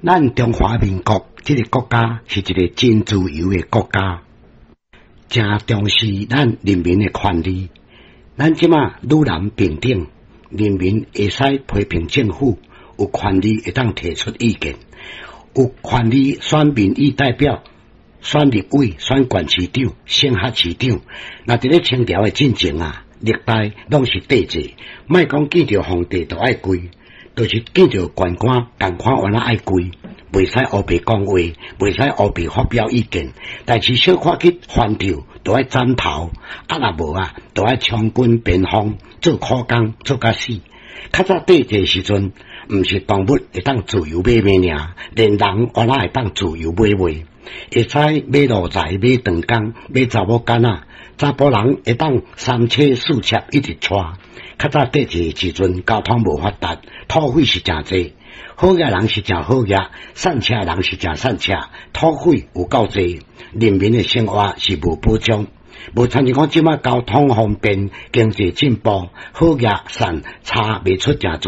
咱中華民國這个國家是一个真自由的國家，誠重視咱人民的權利。咱這馬女男平等，人民會使批評政府，有權利會當提出意見，有權利選民意代表、選立委、選縣市長、省轄市長。若佇咧清朝的進前啊，歷代攏是帝制，莫講見著皇帝就愛跪，就是見著縣官，仝款原來愛跪，袂使烏白講話，袂使烏白發表意見。代誌小可去犯著，就愛斬頭，啊若無啊，就愛充軍邊防，做苦工，做甲死。較早帝制時陣，毋是動物會當自由買賣爾，連人原來會當自由買賣，會使買奴才、買長工、買查某囡仔，查埔人會當三妻四妾一直娶。較早帝制時陣，交通無發達，土匪是誠濟，好額人是誠好額，散赤人是誠散赤，土匪有夠濟，人民的生活是無保障。無親像講這馬交通方便，經濟進步，好額散差袂出誠濟。